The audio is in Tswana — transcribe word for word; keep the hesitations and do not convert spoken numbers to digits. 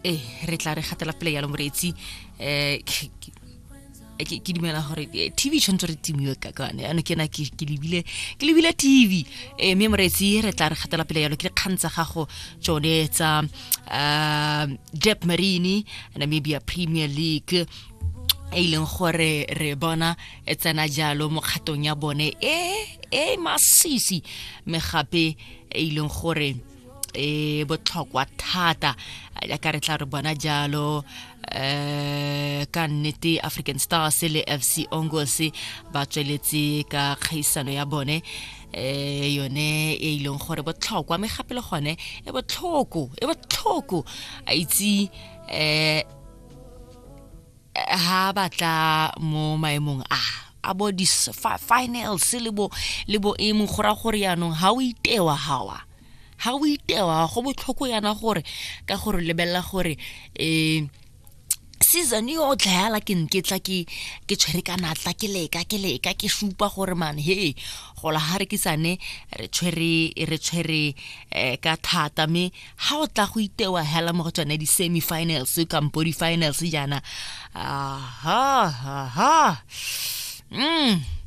Ee, re tla re gatela pele yalo, moreetsi. um ke ke dumela gore eh, T V tshwanetse re timiwe ka kane ano ke na ke ke lebile ke lebile T V. eh Mme moreetsi, re tla re gatela pele yalo ke dikgang tsa gago tsone tsa um Debmarine Namibia Premier League, e leng gore re bona e tsena jalo mo kgatong ya bone e e masisi, mme gape e leng gore e botlhokwa thata, jaaka re tla re bona jalo. eh ka nnete African Stars le F C Ongos ba tsweletse ka kgaisano ya bone, eh yone e ileng gore botlhokwa, mme gape le gone e botlhoko e botlhoko a itse eh ha batla mo maemong a a bo di finals le bo le bo emo, go ra gore yaanong ha o itewa hawa ha o itewa go botlhoko yana, gore ka gore lebelela gore um season yotlhe yala ke nke tla ke ke tshwere ka natla, ke leka ke leka ke supa gore man, he, gola ha re ke sane re tshwere re tshwere eh, ka thata, mme ha o tla go itewa hela mo go tsone di-semi finals kampo di-finals jaana, aha ha ha mm